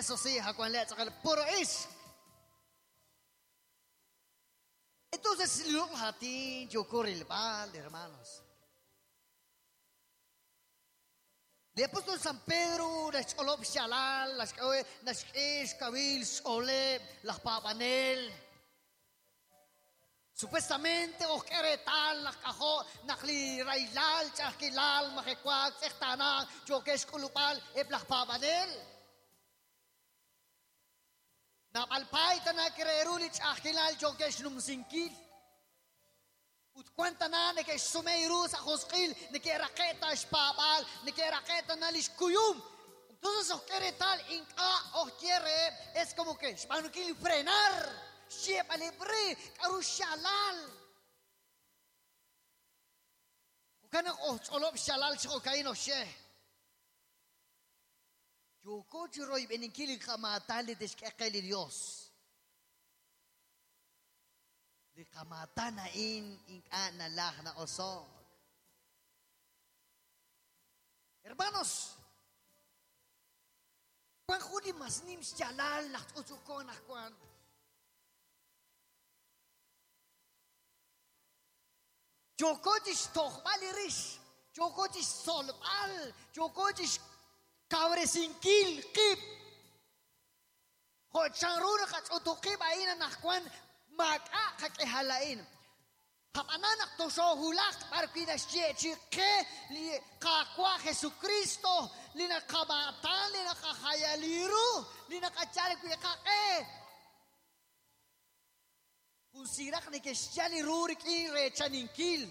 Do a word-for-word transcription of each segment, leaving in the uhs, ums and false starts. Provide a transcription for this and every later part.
Eso sí, puro is. Entonces, el hermanos. Le apóstol San Pedro, las Shalal, las Kabil, Sole, las Papanel. Supuestamente, Osqueretal, las Cajó, Nakli, Railal, Chasquilal, Majecuac, Sextana, Yoquesh, Culupal, Eblas Papanel. Napalpaita na creeruli, Chasquilal, Yoquesh, Numsinkil. Utcuenta ne que sumeirus a Josquil, ne que raqueta espabal, ne que raqueta nalishkuyum. Entonces os quiere tal, inca os quiere, es como que shpanukil frenar, shepalebre, karushalal. Kukana os olop shalal chokaino she. Yo roy beninkil kamatali deshkekeli Dios. Hermanos, Juan Juli masnim shalal Juan. Yokochish tohbalirish, yokochish solbal, yokochish cabresinquil kip. Hochanruna kachutuqib aina najkuan. Maca halain. Hapanana toshohulak parquidas chique li kakwa Jesucristo lina kabatan lina kahayaliru lina kachale kake. Kunsirak ni keshali rurik in rechaninkil.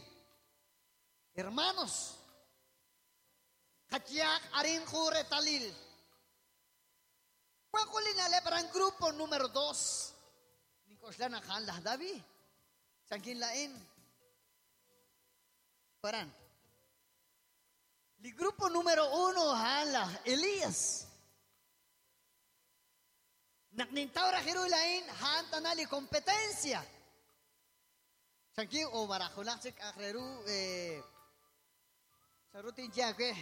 Hermanos, katiak arin talil. Juan lepran grupo número dos. Koslana khan lah David. Chankin lain. Paran. El grupo número uno han Elías. Naknintaura hiru lain han tanali competencia. Chankin o barajulachik akreru eh sarutin jaque.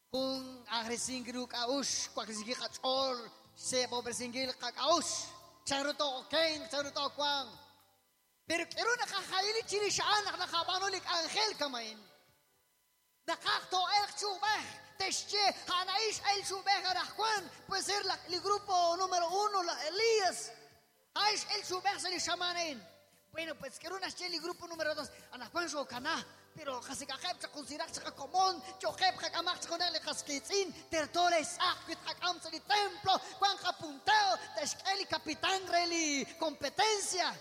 Kung agresingru kaush, kwakrisigi kachol, se pobresingil kakaush. Charuto ken, charuto kwang. Pero quiero nakahaili chilishaan, nakabanolik angel kamain. Nakakto el chubeh, tesche, hanaish el chubeh arajjuan. Puede ser la, el grupo número uno, la Elías. Aish el chubeh se le llamanen. Bueno, pues quiero una el grupo número dos, anajuan shokaná. Pero jasikajeb chakunsirak chakomón, choheb jakamak chakonele jaskitzin, tertores akwit jakam el templo, Juan japunteo, teshkeli capitán reli competencia.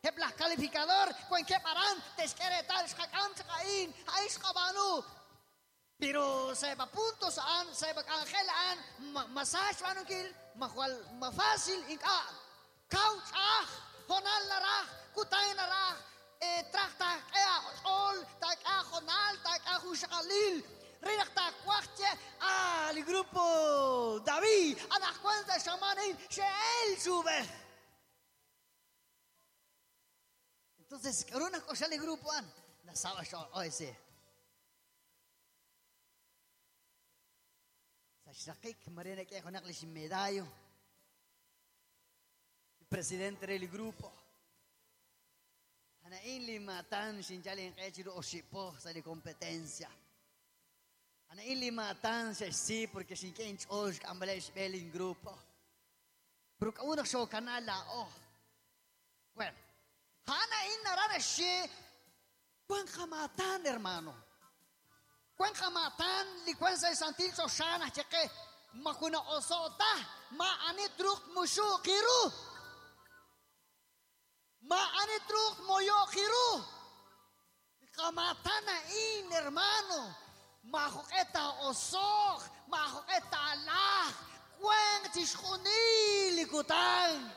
Heblas calificador, Juan que paran, teshkere tal jakam chakain, aish jabanu. Pero seba puntos an, seba angel an, massage manukil, mahual ma fácil inka. Couch ah, honal naraj, kutay naraj. Trachta ol tak ajonal tak ajushalil rinakta cuache al grupo David anajuan shamanin sheel sube. Entonces una cosa el grupo an la saba ese sashakik marina que jonaklish medallo el presidente del grupo Anain limatan sinjalin qechiru oshipo sali competencia. Anain limatan sí porque sin que inchos ambalesh belin grupo. Pero una show canala oh. Bueno, Hanain narana she Juan jamatan hermano. Juan jamatan li Juan sa santil soshana cheque makuna osota ma anitruk mushu kiru. Ma anitruk moyo kiru. Kamatana in hermano. Mahoketa osok, mahoketa alaj, kwen tishkunil ikutan.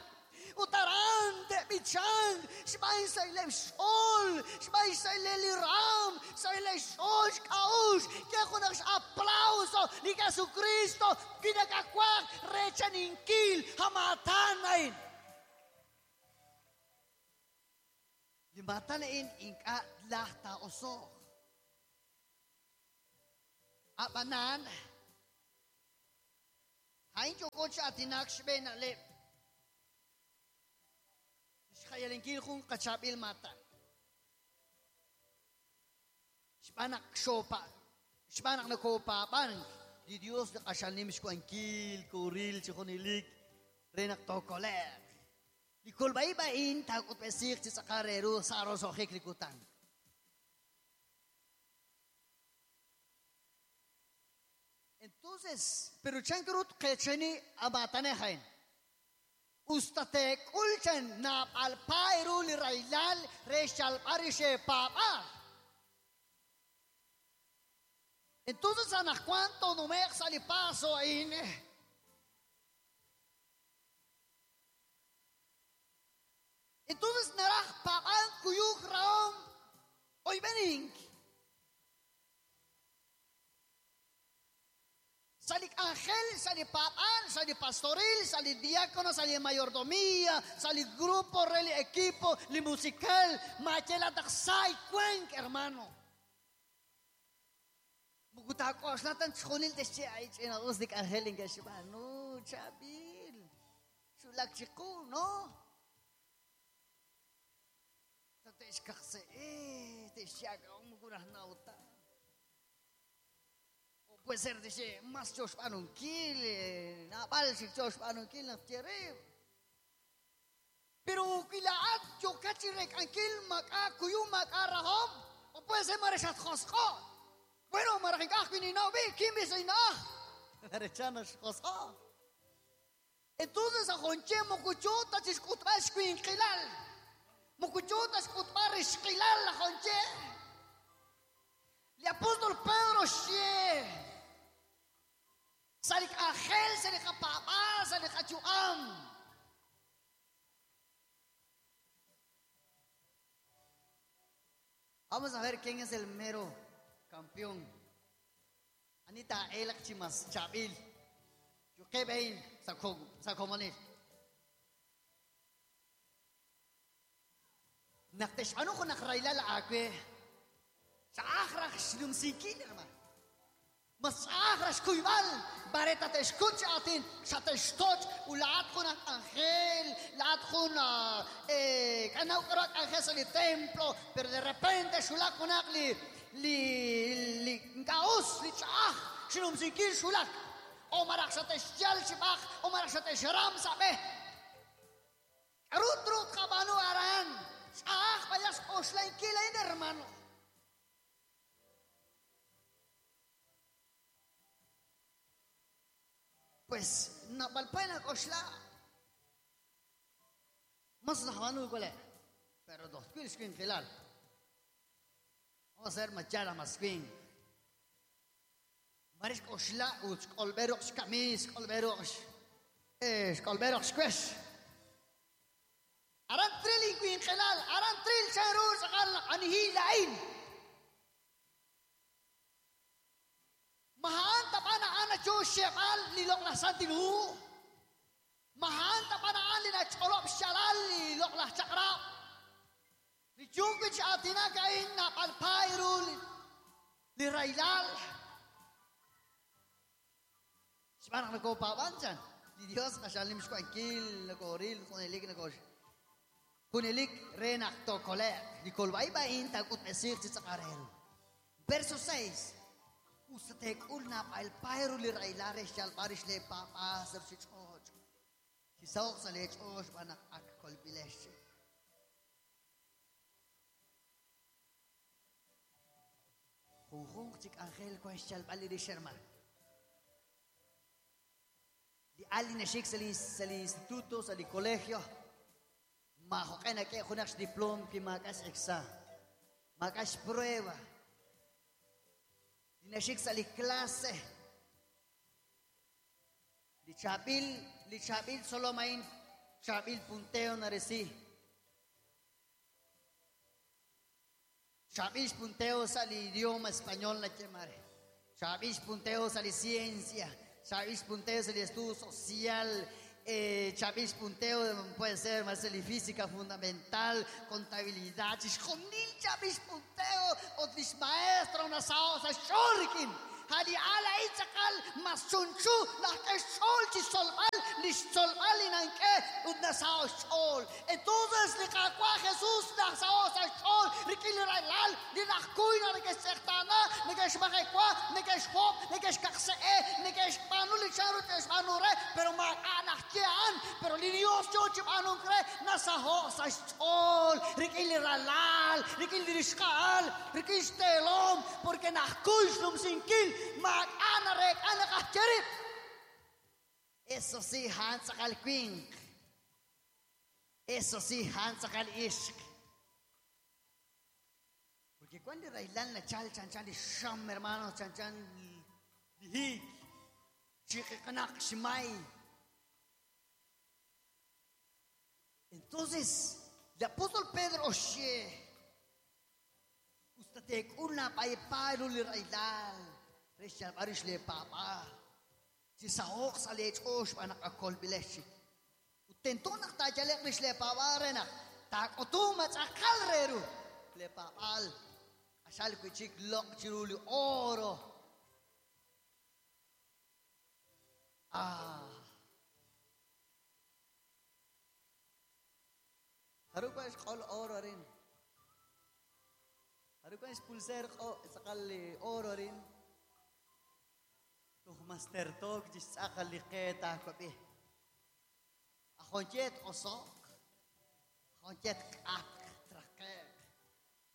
Utaran de bichan, shmai saile shol, shmai saile liram, saile shol kaush, que con aplauso, ni Jesucristo, kinakakwak rechaninkil, hamatanain. Limatanain inka lahta osok. Abanan, Hain yokoch atinak xb'een na'leb'. Xjayalinkil jun qachaab'il maatan. Xb'aan naq xopa, xb'aan naq nakopaab'ank li Dios li q'axal nim xwankil koril chi junelik re naq tookole'q. Li kolb'a'ib' a'in taak'utb'esiq chi tz'aqal re ru sa' roso'jik li kutan. Entonces, pero chan krut qecheni abatanejain. Ustate kulchan nap alpairu li railal re papa. Entonces, ana cuánto no me sali paso ahí. Entonces, naraj pagan kuyuk raom hoy venink. Sali ángel, sali papán, sali pastoril, sali diácono, sali mayordomía, sali grupo, reli equipo, li musical, machela taksay cuenc, hermano. Mugutako aslatan chonil desche ay chena usdik ángel inga shibanu chabil. Chulak chiku, no? Tateshkakse eh teshaga umugunah nauta. Puede ser, dice, más choshpanunkil, nabal si choshpanunkil na tierre. Pero kilaat chokachi rekankil maka kuyu maka rahom, o puede ser mareshat josco. Bueno, marajikaj kininao bi, kimbi soina. Marechanas josco. Entonces a jonche mokuchota chiskutba shkuinqilal. Mokuchota shkutba rishqilal la jonche. El apóstol Pedro xie. Salik ángel, salik papá, salik achuam. Vamos a ver quién es el mero campeón. Anita Elak Chimas Chabil. Yo qué vein sacomonil. Nakteshanu ko nakraila la akwe. Sa akhrach shlumsikin, hermano. Mas akhrach kuybal. Bareta te escucha atin. Sa te stoch. Ulaat ko ng ángel. Laat ko na eh kanaw karak ángel sa li templo. Pero de repente shulak ko nak li li li kaos li chaach. Shlumsikin shulak. O marak sa te shyal shibach. O marak sa te shram sabe. Rut rut kabanu aran. Chaach bayas oslain kilain, hermano. Pues napalpay na kosla. Mas nahamanu ko le. Pero dos quil screen filal. Vamos a hacer machara mas queen. Maris kosla uch kolberox kamis kolberox. Eh kolberox kwesh. Aran trilling queen khilal aran trill sharur sakal anhi lain. Mahaan tapana ana choshemal lilok la santilu. Mahaan tapana ali na cholop shalal lilok la chakra. Li chungwich atina kain na palpairu li railal. Smanak na ko pabanchan. Li Dios kashalim shkuankil na koril kunelik na kosh. Kunelik renak to kole. Li kolbay bain takut mesir chichakarel. Verso seis. Usatek ulna palpairu li railare shalparish le papa serchichoch. Chisaok sa lechoch banak ak kolbilesh. Junjung chik angel kwa shalpali li sherman. Li ali na shik sa li sa li instituto sa li colegio. Mahokay na kaya kunak diplom ki makas eksa. Makas prueba. Dinashik sa li clase. Li chabil, li chabil solo main, chabil punteo na resi. Chabil punteo sa li idioma español na chemare. Chabil punteo sa li ciencia. Chabil punteo sa li estudio social. Eh, chabil punteo puede ser más li física fundamental, contabilidad, xonil chabil punteo, otlis maestro una saosa shorkin, Hali ala itzakal masunchu nak'exch'ol chisolb'al lixtzolb'al inanke ut nasaoxch'ol. Entonces li Qaawa' Jesús nasaoxch'ol rik'in li ralal li najkuy neke'xtz'eqtaana neke'xmajekwa neke'xjob neke'xkaqse'e neke'xb'aanu li chan ru te'xb'aanu re pero maak'a' najye a'an pero li Dios yo chib'aanunk re nasaoxch'ol rik'in li ralal rik'in li rixqa'al rik'in xteelom porque najkuy xnumsinkil maak'a' reek'a naqajcherib. Eso sí, a'an tz'aqal winq. Eso sí, a'an tz'aqal ixq. Porque cuando railal nachal chan chan li xam, hermano, chan chan li hiik, chiqiqnaq xmay. Entonces, el apóstol Pedro oye, ustatek'ul napaypayru li railal, rexyalb'arix le papa. Si saoq sa lech'ox b'anaq akolb'ilexik. Utento naq tayaleq rix le papa renaq, tak'otum atz'aqal reru le papal. Q'axal wichik loq' chiru li oro. Ah. Haruka xq'ol oro rin. Haruka xpulser tz'aqal li oro rin. Tuj master tok chixtz'aqal li qe taakob'i. Ajoyet osoq, ajoyet k'atq traqeq.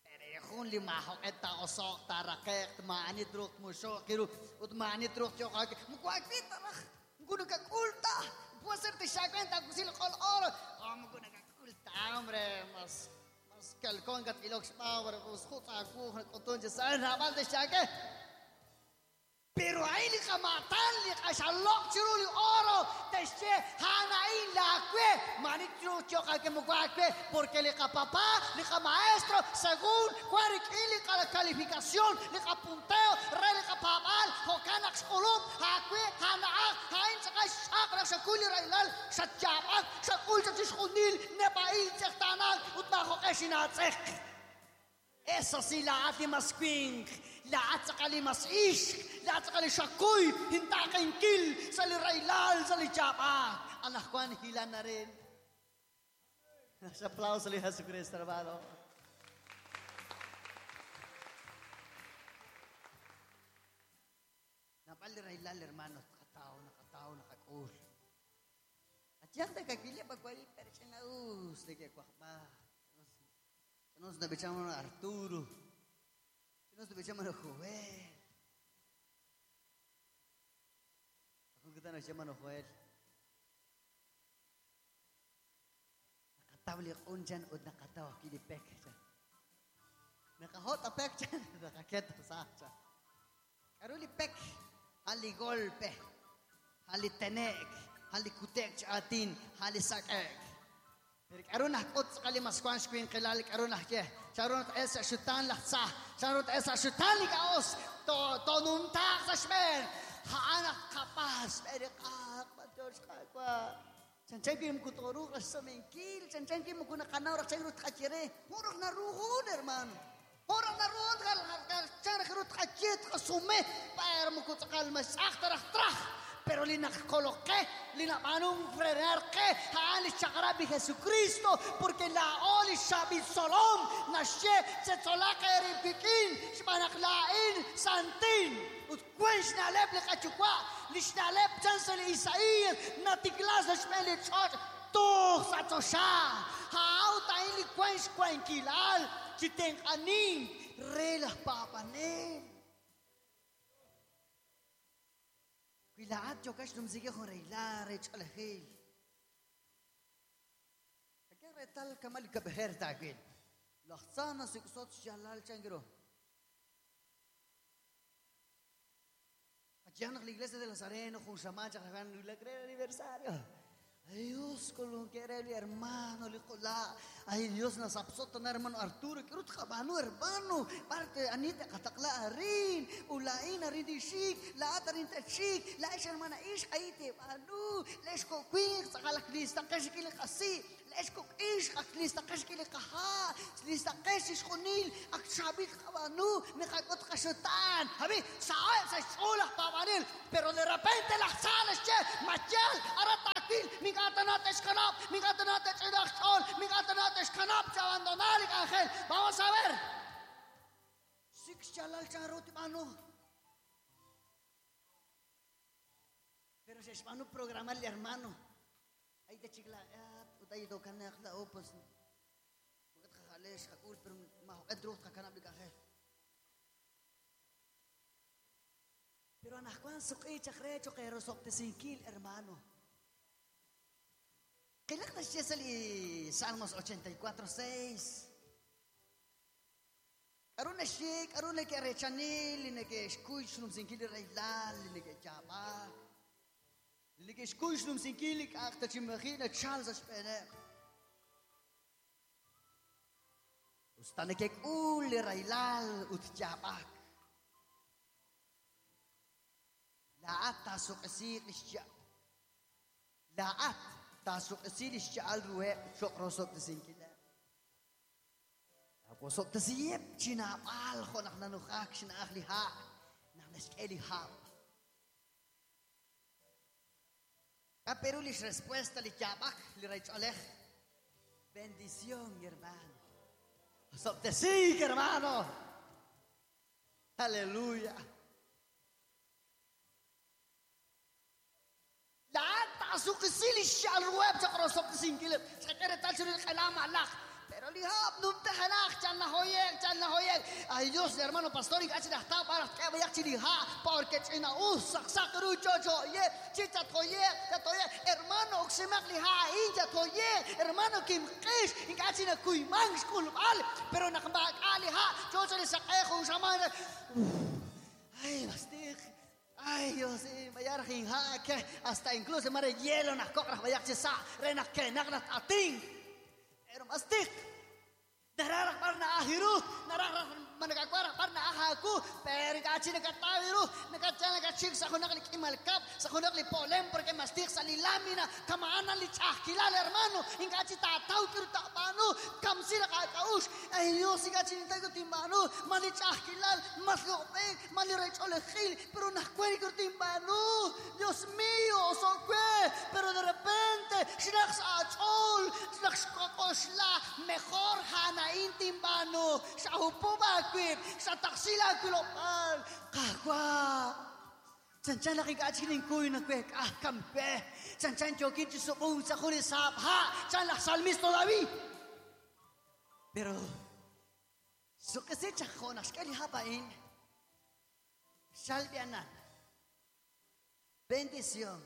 Pero jun li majoqet ta osoq taraqeq ma'ani truq muxoq kiru ut ma'ani truq choqaq. Mkuakb'i taraj, mkunukak'ulta. Puede ser te xakwenta kusil q'ol oro. Oh, mkunukak'ulta, hombre, mas mas kalkon kat ilok xpawar usjut akuj k'utun chisal nab'al te xake. Pero ahí li qamatan li q'axaloq chiru li oro texche hanain la kue manitru choqa que mucuaque porque li qapapá li qamaestro según cuarik'in li calificación li qapunteo re li qapab'al jo'kan xq'ulub hakue hana'aj ha'in tz'aqal x'aq raj xakul li raylal xatchab'ak xak'ul xachixjunil nepa'il tz'eqtanak ut majoq'ex inaatz'eq. Eso sí, la ati mas winq, la atz'aqali mas ixq, la atz'aqali xakuy, hintaqenkil, sa li raylal, sa li chab'ak. Anajwan hilan na rin. Aplauso li Jesucristo, hermano. Napal li raylal, hermano, nakataw, nakataw, nakakul. At yan, nagkakili, pagwali, pero siya na us, nagkakwakba. Nos debechamos a Arturo. Nos debechamos a Joel. Ako kita nos llaman a Joel. Nakatabli unchan ut nakataw kilipek chan. Nakahot apek chan. Nakaket sa chan. Karuli pek. Hali golpe. Hali tenek. Hali kutek chatin. Hali sakek. Pero karon nakot sa kalimas kwan shkwin kilal karon nakye. Charon esa shutan laksa. Charon esa shutan likaos. To to numtak sa shmer. Haanak kapas. Pero kak patyosh kakwa. Chanchan kim kutoru sa mengkil. Chanchan kim kunakanaw rak chayrut kachere. Murag naruhon hermano. Murag naruhon kal kal charrut kachet kasume. Pero mukutakal mas aktarak trach. Pero linakoloque, linamanun frenarque, haali chagrabi Jesucristo, porque la oli shabi solom, nashe tzetolake ripikin, shmanaklain santin, utquen shnaleb likachukwa, lishnaleb chansel Isaías, natiklas shmeli chot, tu satosha, haauta ili quen shquen chiten anin, relas papanen. Wilaat yokash numzige joreyla rechalhil. Akar retal kamal kabher tagil. Laxana siksot jalal changro. Allá en la iglesia de Nazareno, Junsamá, Chajagan, la cree aniversario. Ay Dios, con lo que era el hermano, le la. Ay Dios, nos absota hermano Arturo, quiero trabajando hermano. Parte Anita, katakla arin, ulain arin dishik, la atarin tachik, la ish hermana ish, ahí te banu, les kok winq tz'aqal ak listaqex rik'in li qasi', laex kok ixq ak listaqex rik'in li qaha', listaqex chixjunil ak chaab'il qab'aanu, miqak'ut qaxutaan. Abi, sa'eb' sa' xch'ool aj paab'anel, pero de repente laj tza naxye, mayal, ara taawil, mink'a' tana te'xkanab', mink'a' tana te'ch'inaq xch'ool, mink'a' tana te'xkanab' chi abandonar li k'anjel. Vamos a ver. Sik xyaalal chanru tib'aanu. Pero se xb'aanu programar li hermano. Ahí te chicla, ut ahí dokanaq la pues mukat qajalex qak'ul, pero majoq'et ruuj tqakanab' li k'anjel. Pero anajwan suq'i chaq re choqerosob'tesinkil, hermano. Qilaq naxye sa' li Salmos ochenta y cuatro, seis. K'aru naxye, k'aru neke'rechanil, li neke'xkuy xnumsinkil li raylal, li neke'yaab'ak, li neke'xkuy xnumsinkil li k'a'aq tachimaji nachal sa' xb'eeneb'. Usta nekek'ul li raylal ut yaab'ak. Laa'at taasuq'esiiq li xya'. Laa'at taasuq'esi li xya'al ruheb' cho'q rosob'tesinkileb'. Awosob'tesiheb' chinaab'al jo' naq nanujak xna'aj li ha', naq naxk'e li hab'. K'a Perú lix respuesta li yaab'ak li raych'oolej. Bendición, hermano. Osob'tesik, hermano. Aleluya. Laa'at taasuq'esi li xya'al ruheb' cho'q rosob'tesinkileb'. Xqak'e reetal chiru li q'elaam alaj. Pero li hab' numtajenaq, chan najoyek, chan najoyek. Ay Dios, hermano pastor, ink'a' chinajtaw baraj tk'e bayaq chi li ha', porque ch'ina'us, saqsaq ru chochoye, chichatjoyek, chatoyek. Hermano, oksimaq li ha' a'in, chatoyek. Hermano, kimq'ix, ink'a' chinakuyman xk'ulb'al. Pero naq maak'a' li ha', chocho li saq'ej jun xaman. Ay, bastiq. Ay, Dios, mayaraj inha' ke hasta incluso mare hielo naq koqraj bayaq chi sa', re naq kenaq naq atin. Pero mastik. Nararaq bar na ahiru, nararaq manakakwara bar na ahaku, pero kachi nakatawiru, nakacha nakachik sa hunak li kimalkap, sa hunak li polem, porque mastik sa lilamina, kamaana li chahkilal, hermano, inkachi tataw kiru tapanu, kamsira kakaush, ay Dios, inkachi nitayo timbanu, mali chahkilal, mas lopek, mali recholejil, pero nakweri kiru timbanu, Dios mío, sokwe, pero de repente, shinaq sa achol, shinaq shkokoshla, mejor hana intimbano, sa upubakwib, sa taksila kulopal, kahwa. Chanchan nakikachinin kuy na kwek, ah, kampe. Chanchan chokin chisukung sa kuli sa ha, chan la salmisto David. Pero, so kasi chakonas, kali hapain, salbianan, bendición,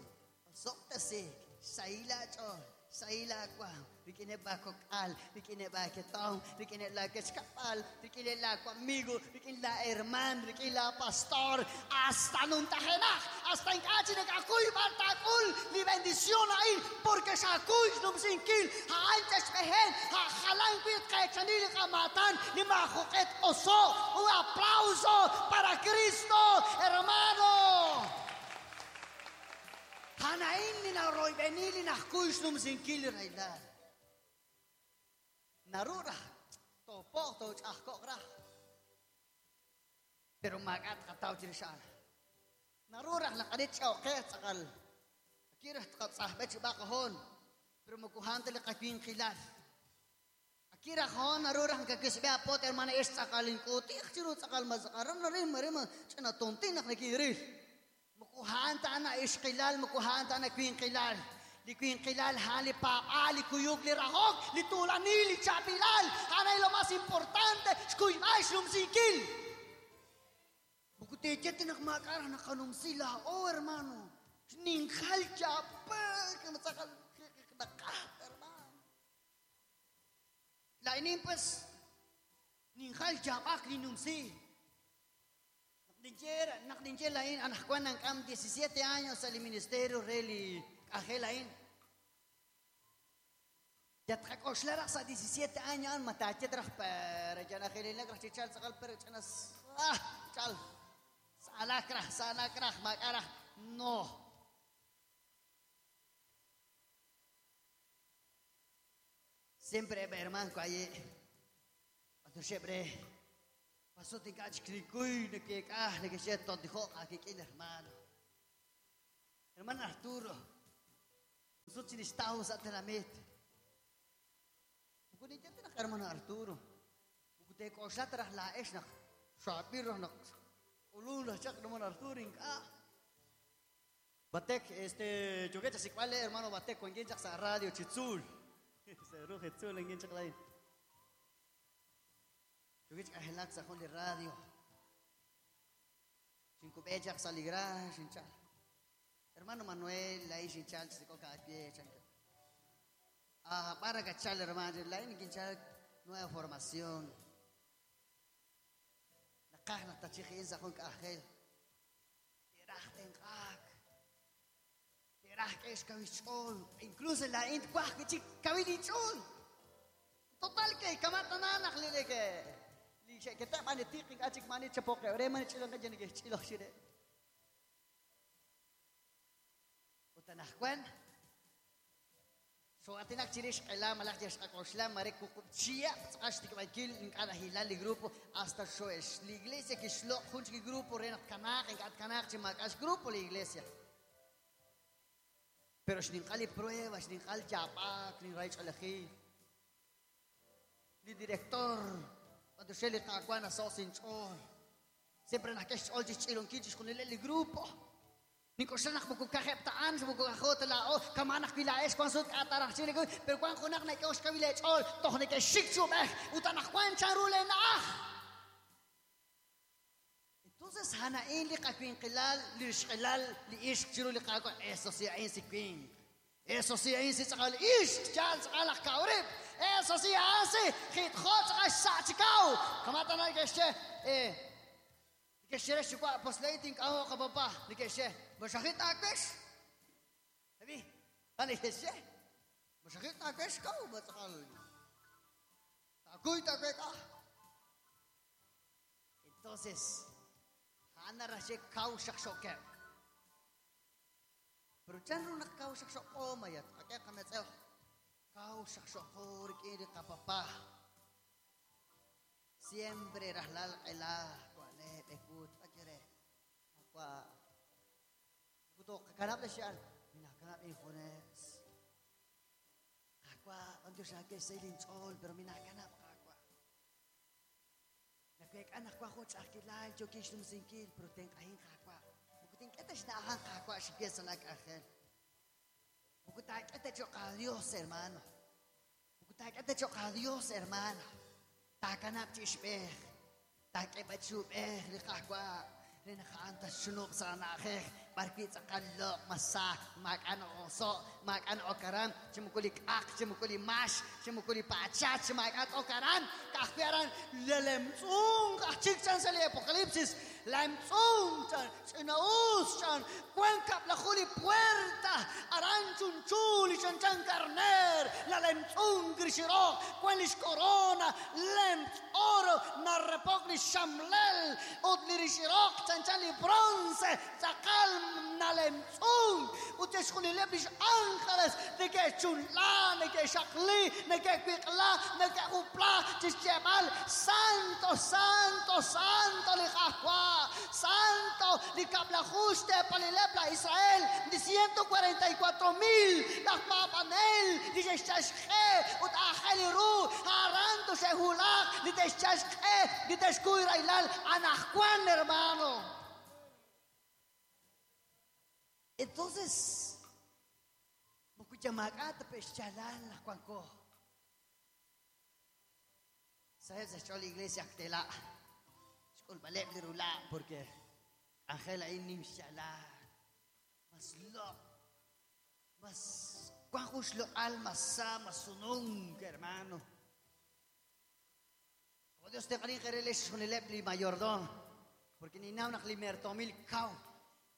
soktasik, sa ilachol, sa ilakwa, rikineba kokal, rikineba ketong, rikineba kechkapal, rikineba amigo, rikinla herman, rikinla pastor, hasta nuntajenaj, hasta inkachi nekakuy bartakul, li bendición ahí, porque sakuy numsinkil, ha antes mehen, ha jalan kuit kechanil kamatan, ni majoket oso, un aplauso para Cristo, hermano. Hanain ni na roibenili na kuy numsinkil railal. Narura, topo to chakokra. Pero magat kataw chirishan. Narura nakalit siya okay sakal. Akira katsahbet bakahon. Pero makuhan tali kakwin kilal. Akira hon narura kakisbe apot hermana es sakalin kuti chiru sakal mazakaran narin marima chana tontin nakiril. Makuhan ta na ishkilal, makuhan ta na kwin kilal. Li kwin kilal, ha, li papa, li kuyuk, li rahok, li tulani, li chapilal. Hanay lo más importante, xkuy ay lumsikil. Bukuteket tinakmakara nakanumsila, oh hermano. Ninghal chapa, kamasakal, nakat, hermano. Lainin pues, ninghal chapak, ninumsi. Nakdinchera, nakdinchera lain, anak kwan ng kam diecisiete años al ministerio reli. Ajelain. Yatqak'oxlaraq sa diecisiete años matachet raj pero ya najelina raj chichal saqal pero chanas ah chal salakraj salakraj makaraj no. Siempre, hermano, ahí. Cuando siempre pasó te encache de que ah, de que se dijo aquí hermano. Hermano Arturo. Nosotros estamos a tenamit. Hermano Arturo. Te coxatra la esna. Shapiro no. Ulula chak hermano Arturo inca. Batek este yo que si cuál hermano Batek con quien sa radio Chitzul. Se ruge Chitzul en quien chak la. Yo que ahelak sa de radio. Cinco bechak saligra chinchal. Hermano Manuel ahí chinchal se coca a pie chanca. Ah, para cachar hermano, la en quinchal nueva formación. Nakah naktachihin sa kong kaahel. Tirah tengkak. Tirah kesh kawichol. Incluso la int kwah kichik kawilichol. Total kay kamatananak lili ke. Li kita manitiking achik manit chapoke. Ore manit chilang ka dyan chilok sire. Utanahkwan. So atinak chirish kailam malak jesh kakoshlam marek kukuchia tsash tikmakil inkada hilal grupo hasta shoesh la iglesia que shlo junchi grupo renat kanak inkat kanak chimakas grupo la iglesia pero shninkali prueba shninkal chapak ni raich alahi ni director cuando sheli kakuana sosin chol siempre nakesh chol chilon kichish con el grupo Nikosanak mo kukakeptaan mo kukakot la o kamanak bila es kwan sut atarach chile pero kwan kunak na ikaw kabile chol toh ni ke shik chubeh utanak kwan charule na. Entonces hanain li kakwinqilal li shqilal li ishq chiru li qaqo eso sí ain si kwin eso sí ain si tsal ishq chal tsal kaurib eso sí hace khit khot tsachikau kamatana ke she eh que shere shukwa postlating aho ka papa ni ke she masakit akesh sabi ani ke she masakit akesh ka batakal takuy takuy ka. Entonces hana rashe kau shakshoke pero chan ru nak kau shakshoko mayat ake kametzel kau shakshoko rikiri ka papa siempre rahlal ila ekut akere akwa kuto kakanap na siya minakanap injones akwa anto siya ke selin chol pero minakanap akwa nakwek anak kwa ko chakilal yo kish lumsinkil pero ten kahin akwa bukutin keta siya ahan akwa siya sa lag angel bukutay keta yo ka Dios hermano bukutay keta yo ka Dios hermano takanap chishbeh takebachub eh liqaqwa rinaqanta shunub sanaqej barki tsaqallo masa makan oso makan okaran chimukuli aq chimukuli mash chimukuli pacha chimakat okaran kaqpiaran lelemtzung achikchan sali apocalipsis lemtzung chan chinaus chan cuenca la juli puerta aranchun chuli chan chan carner la lemtzung grishiro cuelis corona lemt oro narrepogli shamlel udlirishiro chan chan li bronce tzaqal nalemtzung uteshkhulileb ángeles de que chunla de que shaqli de que quiqla de que upla chichemal santo santo santo li jahua santo li kablajuste palilepla Israel de ciento cuarenta y cuatro mil las papanel dice chashje ut aheliru haranto shehulak di chashje di teshkuirailal anajcuan hermano. Entonces, mukuchamakata peshalal cuanco. ¿Sabes? Echó la iglesia actela. Esculbaleb de rula porque Ángela inimshala. Mas lo mas cuanjus lo alma sa masunung hermano. Como Dios te qarin junileb li mayordom porque ni naw nak li mertomil kau.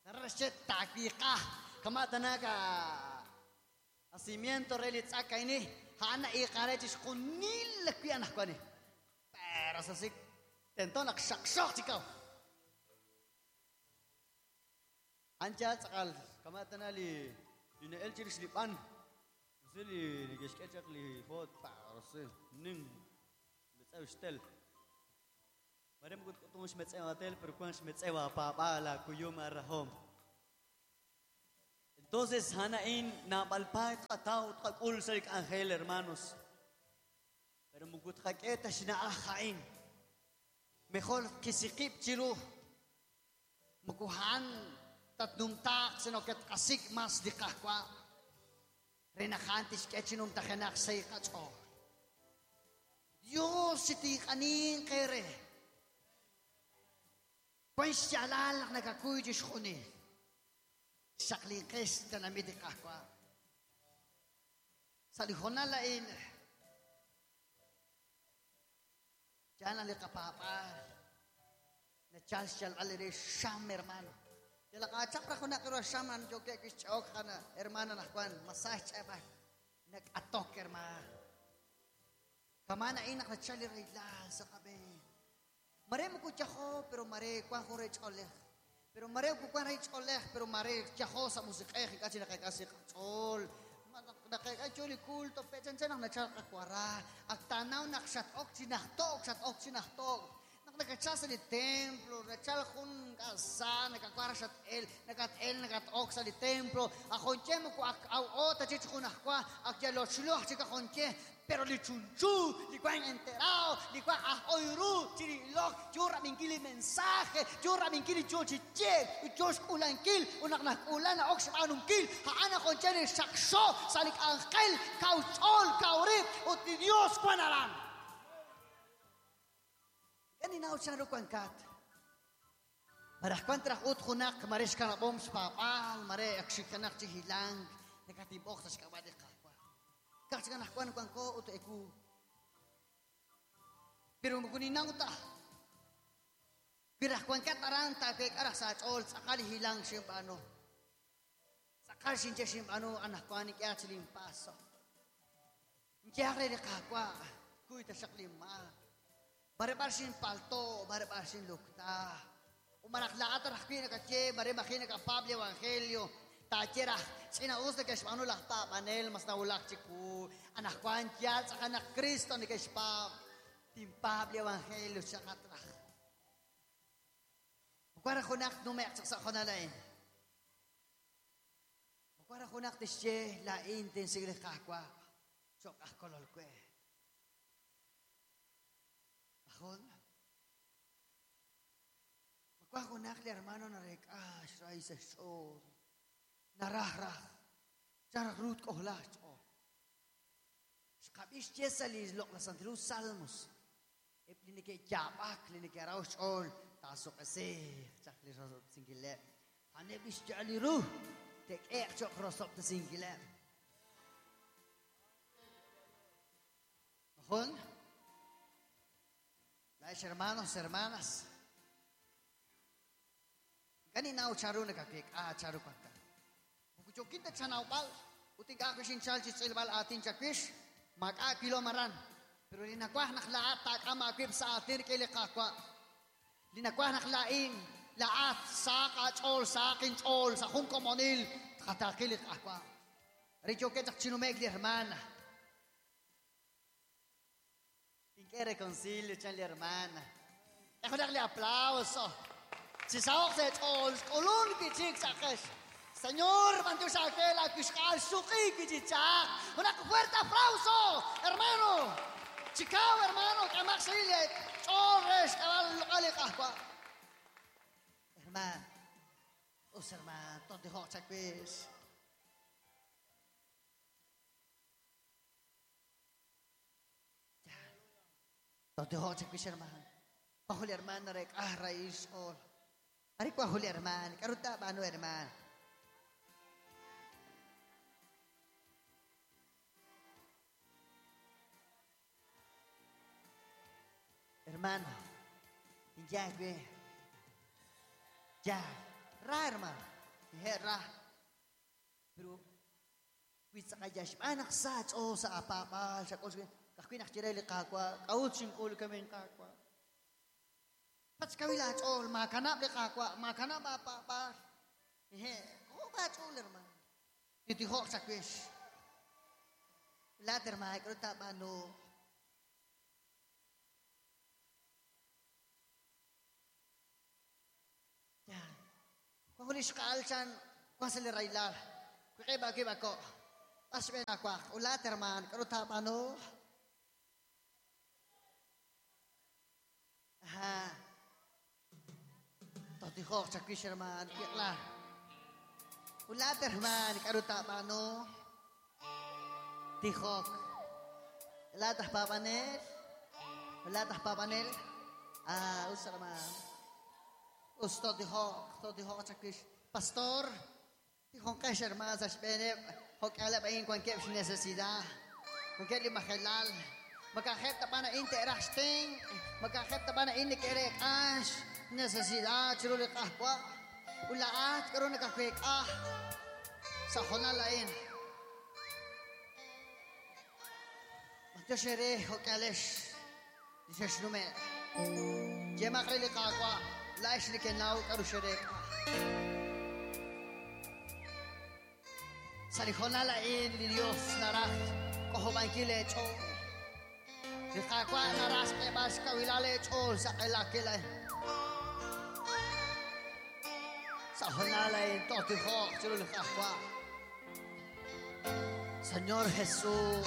Narashet takiqa kamatanaka nacimiento relitzakaini hana iqarechis qunil kuyanaqani pero así tentonak shaqshaq chikaw ancha tzaqal kamatana li inael chirish lipan Rosil nikixk'echaq li foot pa Rosil nin metzew xtel. Mare mukut k'utum xmetzew atel, pero kuan xmetzew apaab'al akuyum arrahom. Entonces, hanain nabalpay tqataw tqak'ul sa ángel, hermanos. Pero mukut qak'eta xna'aj ha'in. Mejor kisiqib chiru. Mukuhan tatnumtaq sino que tqasik mas li qajwa. Renajan tixk'echinum tajenaq sayqach'ool. Dios sitiqanin qere. Kwan xyalal naq nakakuy chixjunil. Xaqlinqex tanamit li qajwa. Sa li jonal la'in. Yana li qapaap'al. Nachal xyalb'al re xam, hermano. Yalaqachaq ra junaq ro xam an yo que kixch'ok jana hermana najwan masaj ch'eb'al. Nak'atok, hermano. Kamana inaq nachal li raylal sa qab'een. Mare mukuchajo, pero mare kwan jo re ch'olej. Pero mare kwan re ch'olej, pero mare chajo sa musiq'ej ik'achi naqek'asi qach'ol. Naqek'acho li culto pechanchan naq nachal qakwara. Ak tanaw naq xat'ok chi najtok, xat'ok chi najtok. Naq nakachal sa li templo, nachal jun k'asa, nakakwara xat'el, nakat'el, nakat'ok sa li templo. Ajonche muku ak aw ota chich jun ajkwa, ak yalochluj chik ajonche. Pero li chunchu, li kwan enterao, li kwan ajoyru, chirilok, churra minkili mensaje, churra minkili chuchiche, chush ulankil, unak nak ulana ok xb'anunkil, ha'ana joncheni xaqxo, salik ángel, kauchol, kaurib, ut li Dios kwan aran. Kani naw chanru kwankat. Maraj kwan traj ut junak, maresh kanabom xpapal, mare akxikanak chihilang, nakatibok sa xkabad iqa. Kachkan kwan kwan ko ut eku. Pero mukuninang ta. Pirah kwan kataran ta ke karah sa chol sakali hilang simbano. Sakal sinche simbano anak kwan ni kya chilim paso. Nkyakre de kakwa kuita saklim ma. Bare bar sin palto, bare bar sin lukta. Umarak laat rakpi na kache, bare makina ka Pablo Evangelio. Tachera, sina usta que xb'anu laj paab'anel mas nawulak chiku. Anajwan yal tz'aqan Cristo ni kexpaab. Timpable Evangelio xaqatraj. Mukwara junaq numeq chaq sa jonalain. Mukwara junaq tixye la'in tinsigli qajwa. Choq ajkololkwe. Ajun. Mukwara junaq li hermano narek'ax raíz xch'ool. Naraj raj. Charaj rut k'ojlaj ch'ool. Xqab'ix yesa li loq la santilu salmos. Eb li neke'yaab'ak, li neke'raw xch'ool, taasuq'esej chaq li rosob'sinkileb'. Aneb' xya'al li ru, tek'eq choq rosob'sinkileb'. Majun? Laex hermanos, hermanas. Kaninaw charu nakakik, ah, charu kwanta. Mukuchokinta chanawb'al, utik ako sinchal chichilbal atin chakwish, mag-a kilomaran. Pero linakwah naklaat takama akwib sa atin kilikakwa. Linakwah naklain, laat sa kachol, sa akin chol, sa kung komonil, katakilik akwa. Richo ketak chinumeg li hermana. Tinke reconcilio chan li hermana. Ejo darle aplauso. Si saok se chol, kolun kichik sa kesh. Señor, mantu sa aquel, akishkal suki kichichak. Un fuerte aplauso, hermano. Chicago, hermano, kamaxile, chorres, cabal, alikakwa. Hermano, os hermano, tonte hocha quiz. Tonte hocha quiz, hermano. Pahuli hermano, rek, ah, raíz, ol. Arikwa huli hermano, karuta bano hermano. Hermano, ya, güey. Ya, ra, hermano. Dije, ra. Pero, witsakayashmanak sa o sa apapal, sa kos, kakwin akchireli kakwa, kautsing kul kami kakwa. Patskawila chol, makanap le kakwa, makanap apapal. Dije, oh, ba chol, hermano. Titihok sa kwish. Laat hermano, k'aru taab'aanu? Ya. Kung huli xqaal chan, kung sa li raylal. Kukiba kiba ko. Pasben akwak. Ulat hermano, k'aru taab'aanu? Aha. Totihok chakwish hermano, kikla. Ulat hermano, k'aru taab'aanu? Tijok. Lahat ah papanel. Lahat ah papanel. Ah, usa naman. Usto tijok. To tijok chakwish. Pastor. Tijok kay hermano sa shpenep. Hok alap ayin kwan kep necesidad. Kung kep limahelal. Magkakep ta pa na interacting. Magkakep ta pa na inikerek ash. Necesidad. Chiruli kahwa. Ulaat. Karoon nakakwek ah. Sa honalain. Tashere hokalesh dishnume jema khali qaqwa laish likenau karushere salijona la in Dios naraj kohobankile cho liqaqwa naras qebas kawilale cho saqelakela sajona la in totijo chirul qaqwa Señor Jesús.